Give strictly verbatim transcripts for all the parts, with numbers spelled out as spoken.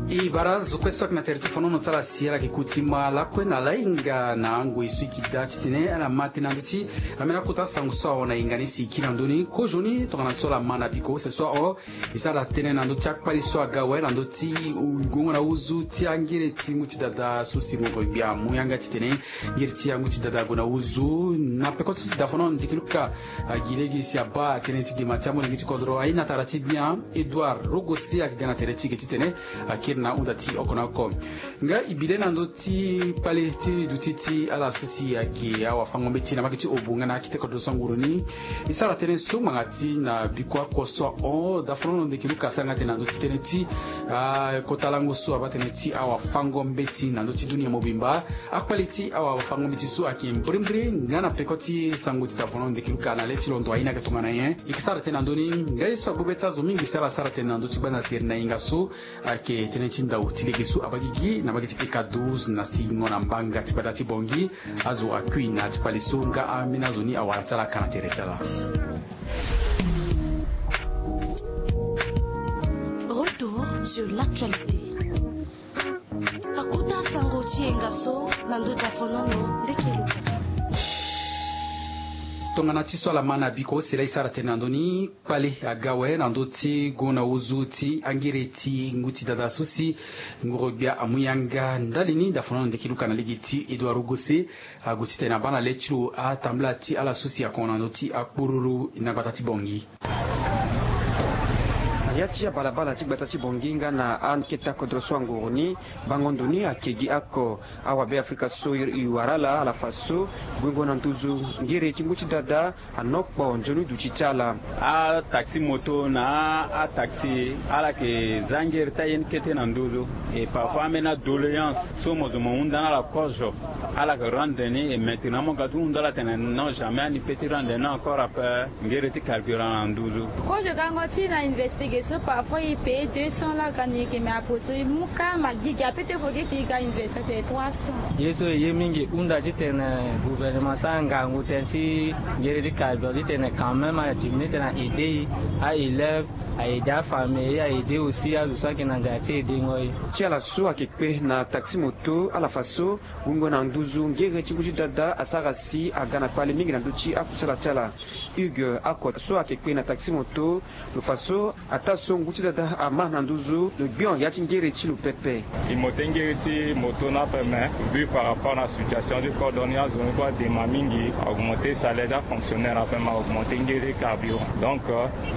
E bara zo kue so ayeke na tere ti fonono ti ala si ala yeke kuti ma lakue na lahinga na angoi so e yeke daa titene ala ma tënë na ndö ti ameni akota sango so ahon na hinga ni si e kiri na ndö ni kozoni tongana so ala ma na biko use so ahon. E sara tënë na ndö ti akpali so aga awe na ndö ti gongo na huzu ti angere ti ngu ti dada so si ngongo gbia amu yanga titene ngere ti angu ti dada ague na huzu na peko ti so si dafono ndeke luka. Agi lege si abaa tënë ti dema ti amolenge ti kodro aye na tara ti bien Edouard Rogosi ayeke ga na tere ti ge titene akiri na ahunda ti oko na oko. Nga e bi le na ndö ti kpale ti duti ti ala so si ayeke awafango-mbeti na mbage ti obo nga na akete kodro so anguru ni. E sara tënë so ngbanga ti na biko ako so ahon dafono ndeke luka asara nga tënë na ndö ti tënë ti kota lango so abaa tënë ti awafango-mbeti na ndö ti dunia mobimba. Akpali ti awafango-mbeti so ayeke mbrimbri nga na peko ti sango ti dafono ndeke luka na le ti londo aye ni ayeke tongana nyen? E yeke sara tënë na ndö ni. Nga ye so agbu be ti azo mingi si ala sara tënë na ndö ti gbanda tere na hinga so ayeke tënë ti ndau ti lege so abaa gigi na mbage ti peka douze na singo na mbanga ti gbata ti bongi. Azo akui na ya ti kpale so nga ambeni azo ni awara ti ala ka na tere ti ala. Retour sur l'actualité. Akota sango ti yenga so na ndö dafonono ndeke luka. Tongana ti so ala ma na biko sela e sara tënë na ndö ni. Kpale aga awe na ndö ti gongo na huzu ti angere ti ngu ti dada so si ngoro gbia amu yanga ndali ni dafonono ndeke luka na lege ti Edouard Rogose. Ague titene abaa na le ti lo atambula ti ala so si akongo na ndö ti akpururu na gbata ti bongi. Na ya ti abalabala ti gbata ti bongi nga na akete akodro so anguru ni bango ndo ni ayeke gi ako. Awabe afrika so e wara ala ala fa so guengo na nduzu ngere ti ngu ti dada. Anokpo nzoni duti ti ala. Ataxi moto na ataxi ala yeke za ngere ti aye ni kete na nduzu. E parfois ambeni adoléance so mo zo mo hunda na ala kozo. Ala yeke rendre ni e maintenant mo ga ti hunda ala tene non jamais ani pe ti rendre ni encore ape. Ngere ti carburant na nduzu. Kozo gango ti na investigation parfois e paye deux cents la ga ni yeke me apo so e mu ka ma gigi ape te fo geti e ga investigation trois cents. Ye so e ye mingi hunda titene gouvernement asara ngangu tënë ti ngere ti carburant titene quand même adiminuer titene a aide e a élève a aide afamille a aide aussi azo so ayeke na nzara ti aidengo e. Ti ala so ayeke kpe na taxi moto ala fa so wungo na nduzu ngere ti ngu ti dada asara si aga na kpale mingi na ndö ti akusala ti ala. Hugues ako so ayeke kpe na taxi moto lo fa so ataa so ngu ti dada ama na nduzu lo gbion ya ti ngere ti lo pepe. E monte ngere ti moto ni ape me vu par rapport na situation ti kodro ni azo ni kue adema mingi. Augmente salaire ti afonctionnaire ape me augmente ngere ti carburant donc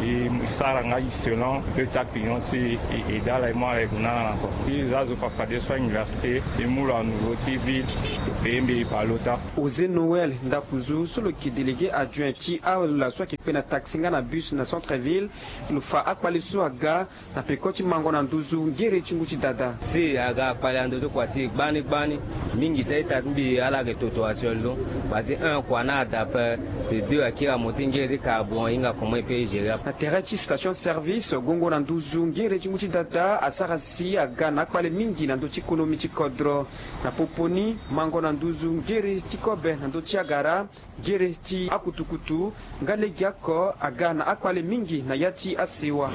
e sara nga e selon peu ti aclient ti e e dala e mu ala e gue na ala na ko. E za azo fafadeso a université e mu lo a niveau ti ville lo peye mbi e bale ota. José Noël Ndakuzu so lo yeke délégué adjoint ti ala so ayeke kpe na taxi nga na bus na centre ville lo fa akpale so aga na peko ti mango na nduzu ngere ti ngu ti dada. Si aga akpale na nduzu kua ti e gbani gbani mingi ti a-ita ti mbi ala yeke toto actuellement. Kua ti un kua na ada ape. De deux akiri amonté ngere ti carburant e hinga comment e peut e gérer ape. Na tere ti station service gongo na nduzu ngere ti ngu ti dada asara si aga na akpale mingi na ndö ti konomi ti kodro. Na popo ni mango na nduzu ngere ti kobe na ndö ti agara ngere ti akutukutu nga lege oko aga na akpale mingi na ya ti asewa.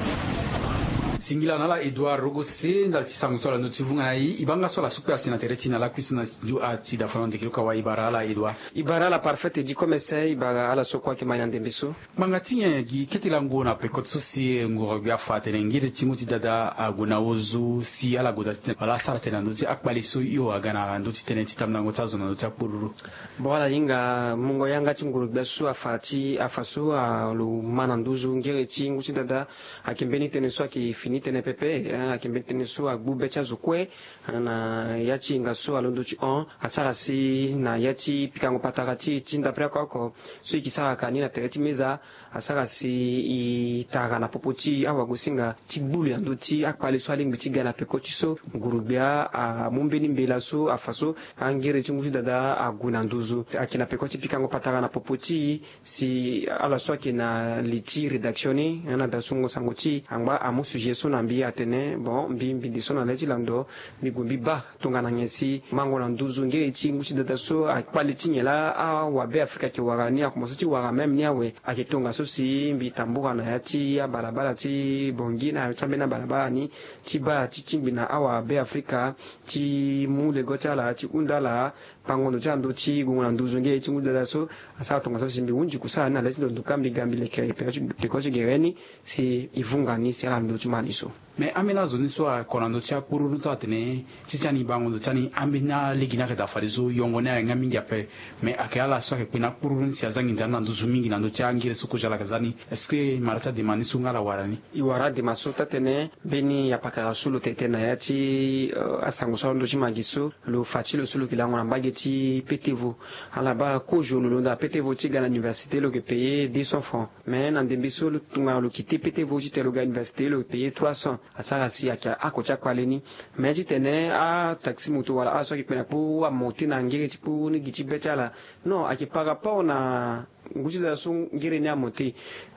Singila na ala Edouard Rogose ndali ti sango so ala ndö ti vunga na e e baa nga so ala sukpe asi na tere ti na lakui so na studio a ti dafa na ndeke luka wa e bara ala Edouard. E bara ala Parfait Edi Komese e bara ala so kue ayeke ma e na ndembe so. Ngbanga ti nyen gi kete lango na peko ti so si ngoro gbia afa atene ngiri ti ngu ti dada ague na ozu si ala gue daa ti tene wala asara tene na ndö ti akpali so hio aga na ndö ti tënë ti tambulango ti azo na ndö ti akpururu. Bon ala hinga mungo yanga ti nguru gbia so afa ti afa so lo ma na nduzu ngere ti ngu ti dada. Ayeke mbeni tënë so ayeke fini tënë pepe. Ayeke mbeni tënë so agbu be ti azo kue na ya ti hinga so alondo ti hon asara si na ya ti pikango patara ti e ti ndapre oko oko so e yeke sara ka ni na tere ti meza. Asara si e tara na popo ti awagosinga ti gbulu na ndö ti akpale so alingbi ti ga na peko ti so. Nguru gbia amu mbeni mbela so afa so angere ti ngu ti dada ague na nduzu ayeke na peko ti pikango patara na popo ti e si ala so ayeke na li ti rédaction ni na da sungo sango ti e angba amu sujet so. Na mbi atene bon, mbi mbi de so na le ti lando, mbi gue mbi baa tongana nyen si mango na nduzu ngere ti ngu ti dada so akpale ti nyen laa awabe afrika ayeke wara ni, akomanse ti wara même ni awe. Ayeke tongaso si mbi tambura na ya ti abalabala ti bongi na ya ti ambeni abalabala ni ti baa ti tingbi na awabe afrika ti mu lego ti ala ti hunda ala pango ndo ti ala ndo ti gongo na nduzu nge ti ngu dada so. Asara tongaso si mbi hunzi kusala ni na le ti ndo ndo kâ mbi ga mbi leke peko ti gere ni si e vunga ni si ala ndo ti ma ni so. Mais ambeni azo ni so ako na ndo ti akpururu so atene ti ti ani bango ndo ti ani ambeni alege ni ayeke daa fadeso yongo ni ayeke nga mingi ape. Mais ayeke ala so ayeke kpe na akpururu ni si aza nginza ni na nduzu mingi na ndo ti angere so kozo ala yeke za ni. Est-ce que mara ti adema ni so nga ala wara ni? E wara adema so taa-tënë. Mbeni apakara so lo tene tënë na ya ti asango so alondo ti ma gi so lo fa ti lo so lo yeke lango na mbage ti petevo. Ala baa kozo lo londo na petevo ti ga na université lo yeke payer deux cents francs. Mais na ndembe so lo tongana lo kite petevo titene lo ga université lo yeke payer trois cents. Asara si ayeke ako ti akpale ni. Mais titene ataxi moto wala ala so ayeke kpe na kpo amonte na ngere ti kpo ni gi ti be ti ala. Non, ayeke par rapport na ngu ti za so ngere ni amonte.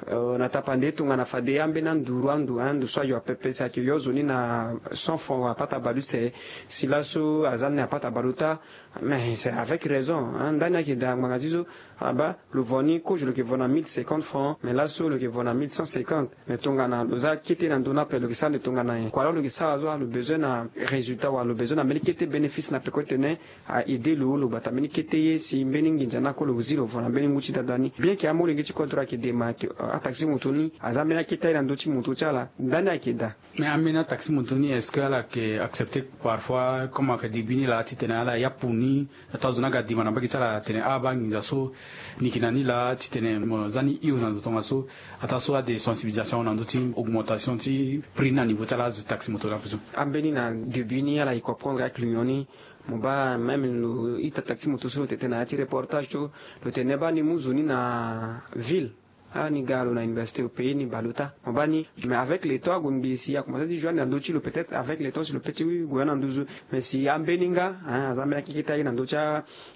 Na tapande tongana fade ambeni anduru ando ando so ayo apepe si ayeke yo zo ni na cent francs wala pata baleuse. Si laso aza ni na pata baleota. Mais c'est avec raison. Ndani ayeke daa ngbanga ti so. Aba lo vo ni kozo lo yeke vo na mille cinquante francs mais laso lo yeke vo na mille cent cinquante. Mais tongana lo za kete na ndö ni ape lo yeke sara nde tongana nyen? Kua lo lo yeke sara so alo bezoin na résultat wala lo bezoin na mbeni kete bénéfice na peko ti tene a aide lo lo gbata mbeni kete ye si mbeni nginza ni ako lo zi lo vo na mbeni ngu ti dada ni. Bien ke amolenge ti kodro ayeke dema ayeke ataxi moto ni aza mbeni akete aye na ndö ti moto ti ala. Ndani ayeke daa. Mais ambeni ataxi moto ni est-ce que ala yeke accepter parfois comme ayeke début ni laa titene ala yapu ni? Ataa zo ni aga dima na mbage ti ala atene abaa nginza so ni yeke na ni laa titene mo za ni hio na ndo tongaso. Ataa so ade sensibilisation na ndö ti augmentation ti prix ni na niveau ti ala azo ti taxi moto ni ape so. Ambeni na début ni ala e comprendre aclinion ni. Mo baa même lo ita taxi moto so lo tene tënë na ya ti reportage so lo tene baa ni mu zo ni na ville. Ani ga lo na université lo payer ni baleota mo baa ni. Mais avec le temps ague ngbii si akomanse ti joindre na ndö ti lo peut-être avec le temps si lo pe ti gue na nduzu. Mais si ambeni nga aza mbeni akeke ti aye na ndö ti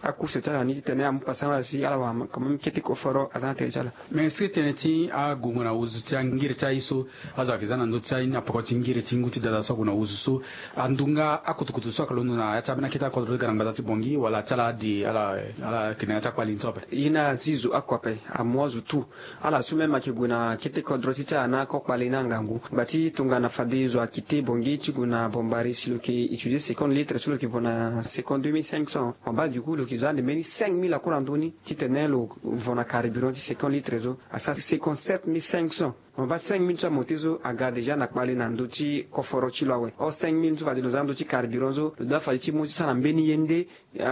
acourse ti ala ni titene amu pasa na ala si ala wara quand même kete koforo aza na tere ti ala. Mais est-ce que tënë ti agongo na wuzu ti angiri ti aye so azo ayeke za na ndö ti aye ni na peko ti ngiri ti ngu ti dada so ague na wuzu so andu nga akutukutu so ayeke londo na ya ti ambeni akete akodro ti ga na ngbata ti bongi wala ti ala ade ala ala yeke na ya ti akpali ni so ape? Ye ni azi zo oko ape. Amu azo tout. Ala so même ayeke gue na kete kodro ti ti ala na akokpale na ngangu ngba ti tongana fade zo akite bongi ti gue na bombari si lo yeke utiliser seconde litre so lo yeke vo na seconde deux mille cinq cents. Mo baa du coup lo yeke zo ande mbeni cinq mille akura ndoni titene lo vo na carburant ti seconde litre so asara seconde sept mille cinq cents. Mo baa cinq mille so amonte so aga déjà na kpale na ndö ti koforo ti lo awe. Or cinq mille so fade lo za ndö ti carburant so lo dua fade ti mu ti sara na mbeni ye nde.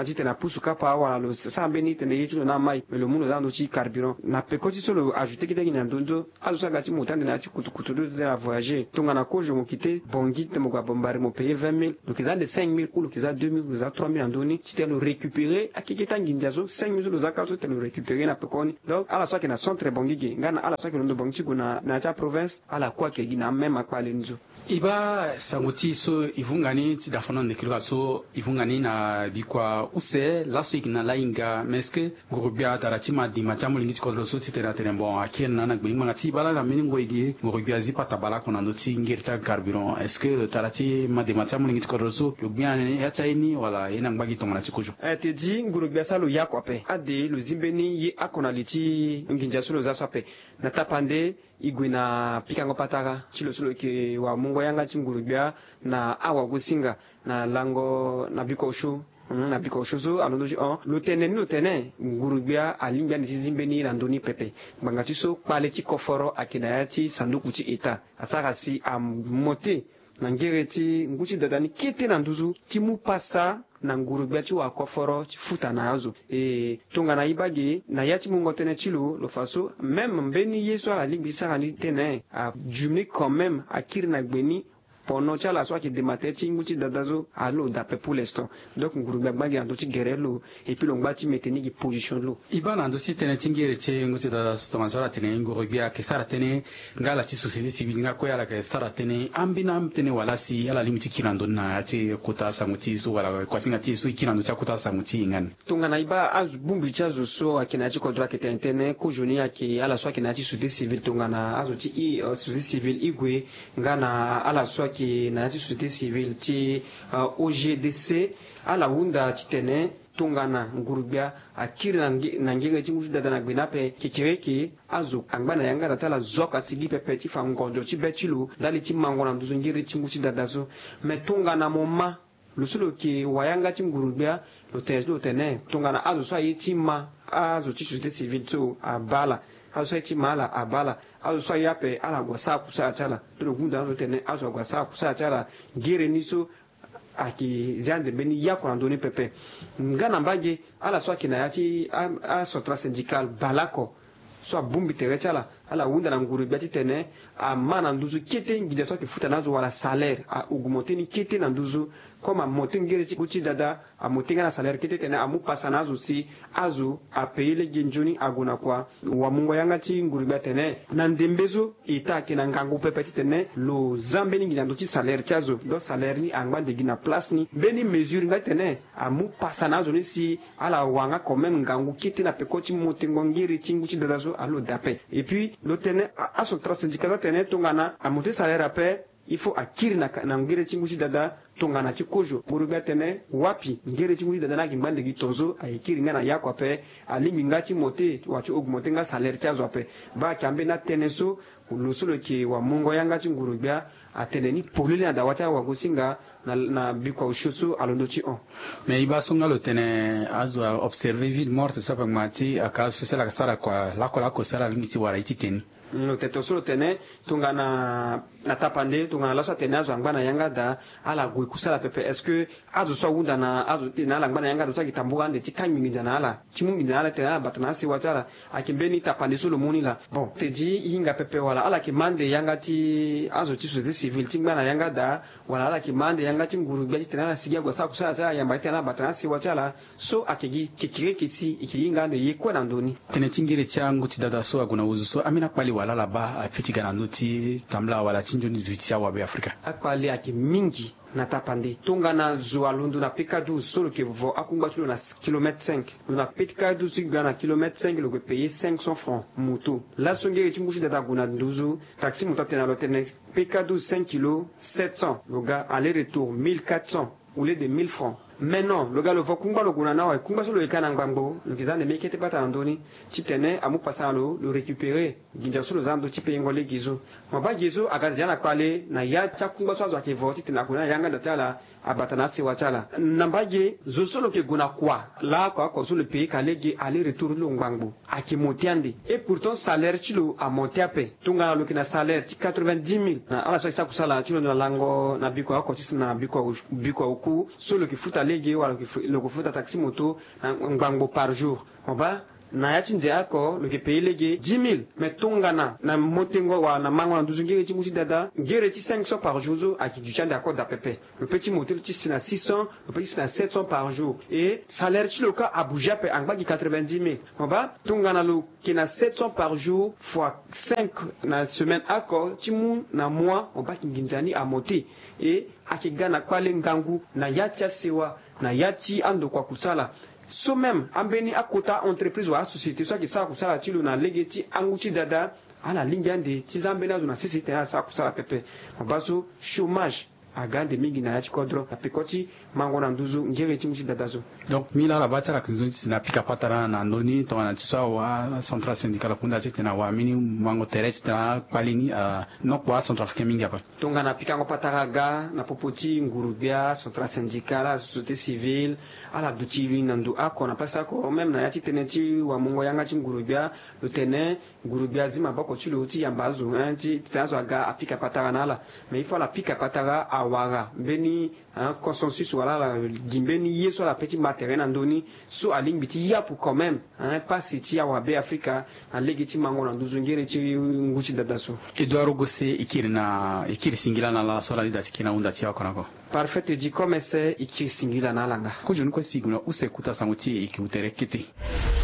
Titene apusu kapa wala lo sara mbeni tene ye ti lo na amai me lo mu lo za ndö ti carburant na peko ti so lo ajouter kete nginza na ndö ni so. Azo so aga ti mo tande na ya ti kutukutu lo ti tene avoyager tongana kozo mo kite bongi titene mo gue na bombari mo payer vingt mille lo yeke za nde cinq mille ou lo yeke za deux mille lo yeke za trois mille na ndö ni titene lo récupérer akeke ti anginza so cinq mille so lo za kâ so titene lo récupérer na peko ni. Donc ala so ayeke na centre bongi ge nga na ala so ayeke londo bongi ti gue na ya ti aprovince ala kue ayeke gi na amême akpale ni so. E baa sango ti e so e vunga ni ti dafana ndekiri ka so e vunga ni na bikua use laso e yeke na lahinga mais est-ce que nguru-gbia adara ti ma dima ti amolenge ti kodro so titene atene bon akiri na na gbengbanga ti e baa lani na mbeni ngoi ge nguru-gbia azi pata baleoko na ndö ti ngiri ti acarburant est-ce que lo tara ti ma dima ti amolenge ti kodro so lo gbia na ya ti aye ni wala ye na ngba gi tongana ti kozo? Te di nguru-gbia so lo ye oko ape ade lo zi mbeni ye oko na li ti nginza so lo za so ape. Na tapande e gue na pikango patara ti lo so lo yeke wara mungo yanga ti nguru-gbia na awagosinga na lango na biko osio. Na biko osio so alondo ti hon lo tene ni lo tene nguru-gbia alingbi ande ti zi mbeni ye na ndö ni pepe. Ngbanga ti so kpale ti koforo ayeke na ya ti sanduku ti état asara si amote na ngere ti ngu ti dada ni kete na nduzu ti mu pasa na nguru-gbia ti wara koforo ti futa na azo. E tongana e baa ge na ya ti mungo tënë ti lo lo fa so même mbeni ye so ala lingbi ti sara ni tënë adumini quand même akiri na gbe ni. Pono ti ala so ayeke dema tere ti ngu ti dada so alo daa pe pour l'instant. Donc ngurugbe agba gi na ndö ti gere lo. Et puis lo ngba ti mete ni gi position lo. E baa na ndö ti tënë ti ngere ti ngu ti dada so tongana so ala tene ngurugbe ayeke sara tënë nga ala ti société civile nga kue ala yeke sara tënë ambeni atënë wala si ala lingbi ti kiri na ndö ni na ya ti kota asango ti e so wala kuasinga ti e so e kiri na ndö ti akota asango ti e nga ni. Tongana e baa azo bongbi ti azo so ayeke na ya ti kodro ayeke tene tënë kozoni ayeke ala so ayeke na ya ti société civile tongana azo ti e société civile e gue nga na ala so ayeke na ya ti société civile ti O G D C. Ala hunda titene tongana nguru-gbia akiri na ngenge ti ngu ti dada na gbe ni ape kekereke, azo angba na yanga daa ti ala zo oko asigi pepe ti fa ngonzo ti be ti lo ndali ti mango na nduzu ngiri ti ngu ti dada so. Me tongana mo ma lo so lo yeke wayanga ti nguru-gbia, lo tene ti lo tene tongana azo so aye ti ma azo ti société civile so abaa ala. Azo so aye ti ma ala abaa ala. Azo so aye ape ala gue asara kusala ti ala. Ti lo hunda na azo tene azo ague asara kusala ti ala. Ngere ni so ayeke zia ande mbeni yako na ndö ni pepe. Nga na mbage ala so ayeke na ya ti acentrale syndicale baleoko so abongbi tere ti ala, ala hunda na nguru-gbia titene ama na nduzu kete nginza so ayeke futa na azo wala salaire a augmente ni kete na nduzu. Comme amonte ngere ti ngu ti dada, amonte nga na salaire kete titene amu pasa na azo si azo apaye lege nzoni ague na kua. Wamungo yanga ti nguru-gbia atene na ndembe so eta ayeke na ngangu pepe titene lo za mbeni nginza ndö ti salaire ti azo. Donc salaire ni angba nde gi na place ni. Mbeni mesure nga titene amu pasa na azo ni si ala wara nga quand même ngangu kete na peko ti montengo ngiri ti ngu ti dada so alo daa ape. Et puis lo tene acentrale syndicale so atene tongana amonte salaire ape, il faut akiri na ngiri ti ngu ti dada tongana ti kozo. Nguru-gbia atene wapi, ngiri ti ngu ti dada ni ayeke ngba nde gi tonzo, ayeke kiri nga na yako ape. Alingbi nga ti monte wala ti augmente nga salaire ti azo ape. Baa ayeke ambeni atënë so lo so lo yeke wamungo yanga ti nguru-gbia atene ni polele na dawa ti awagosinga na bikua osio so alondo ti hon. Mais e baa so nga lo tene azo aobserve ville morte so ape ngbanga ti aka azo so si ala yeke sara kua lakue lakue so ala lingbi ti wara ye ti tene ni. Lo tene tongaso lo tene tongana na tapande tongana laso atene azo angba na yanga daa, ala gue kusala pepe. Est-ce que azo so ahunda na azo ti tene ala ngba na yanga daa so ayeke tambula ande ti kangbi nginza na ala ti mu nginza na ala titene ala bata na asewa ti ala? Ayeke mbeni tapande so lo mu ni laa. Bon, te di e hinga pepe wala ala yeke ma ande yanga ti azo ti société civile ti ngba na yanga daa, wala ala yeke ma ande yanga ti nguru-gbia titene ala sigi ague asara kusala ti ala yamba titene ala bata na asewa ti ala? So ayeke gi kekereke si e yeke hinga ande ye kue na ndö ni. Tënë ti ngiri ti angu ti dada so ague na wuzu so ambeni akpali wala ala baa aye ti ga na ndö ti tambula wala ti nzoni duti ti awabe afrika? Akpali ayeke mingi na tapande. Tongana zo alondo na peka douze so lo yeke vo akungba ti lo na kilomètre cinq. Lo na peka douze ti ga na kilomètre cinq lo yeke paye cinq cents francs moto. Laso ngiri ti ngu ti dada ague na nduzu taxi moto atene na lo tene peka douze cinq kilo sept cents, lo ga aller retour mille quatre cents au lieu de mille francs. Maintenant lo ga lo vo kungba lo gue na ni awe, kungba so lo yeke na ngbangbo lo yeke za ande mbeni kete bata na ndö ni titene amu pasa na lo, lo récupérer nginza so lo za na ndö ti payengo lege so. Mo baa gi so aga nzia na kpale na ya ti akungba so azo ayeke vo titene ague na yanga daa ti ala abata na asewa ti ala. Na mbage zo so lo yeke gue na kua laoko oko so lo paye ka lege aller retour ti lo ngbangbo ayeke monte ande. Et pourtant salaire ti lo amonte ape. Tongana lo yeke na salaire ti quatre-vingt-dix mille na ala so ayeke sara kusala ti lo na lango na bikua oko ti si na bikua oku so lo yeke futa lege wala lo yeke futa taxi moto na ngbangbo par jour, mo baa na ya ti nze oko lo yeke paye lege dix mille. Mais tongana na motengo wala na mango na nduzu ngere ti ngu ti dada, ngere ti cinq cents par jour so ayeke duti ande ako daa pepe. Lo pe ti monte lo ti si na six cents, lo pe ti si na sept cents par jour. Et salaire ti lo ka abouge ape, angba gi quatre-vingt-dix mille. Mo baa tongana lo yeke na sept cents par jour fois cinq na semaine oko ti mu na mois, mo baa ayeke nginza ni amonte. Et ayeke ga na kpale ngangu na ya ti asewa, na ya ti andokua kusala. So même ambeni akota entreprise wala asociété so ayeke sara kusala ti lo na lege ti angu ti dada, ala lingbi ande ti za ambeni azo na sese titene ala sara kusala pepe. Mo baa so chômage aga ande mingi na ya ti kodro na peko ti mango na nduzu ngere ti ngu ti dada so. Donc mbi laa ala baa ti ala yeke nzoni titene apika patara na ndö ni tongana ti so awa acentrale syndicale akunda titene awa mbeni mango tere titene akpali ni anokpo acentrafricain mingi ape. Tongana pikango patara aga na popo ti nguru-gbia, centrale syndicale, asociété civile, ala duti na ndo oko na place oko même na ya ti tënë ti wamungo yanga ti nguru-gbia. Lo tene nguru-gbia azi maboko ti lo ti yamba azo hein ti titene azo aga apika patara na ala. Mais il faut ala pika patara. awara mbeni consensus wala ala gi mbeni ye so ala pe ti ma tere na ndö ni, so alingbi ti yapu quand même pasi ti awabe afrika na lege ti mango na nduzu ngere ti ngu ti dada so. Edouard Ogose, e kiri na e kiri singila na ala so ala lida ti kiri na hunda ti e oko na oko. Parfait, e di comme ese e kiri singila na ala nga. Kozoni kue si e gue na use kota sango ti e, e ke gue tere kete.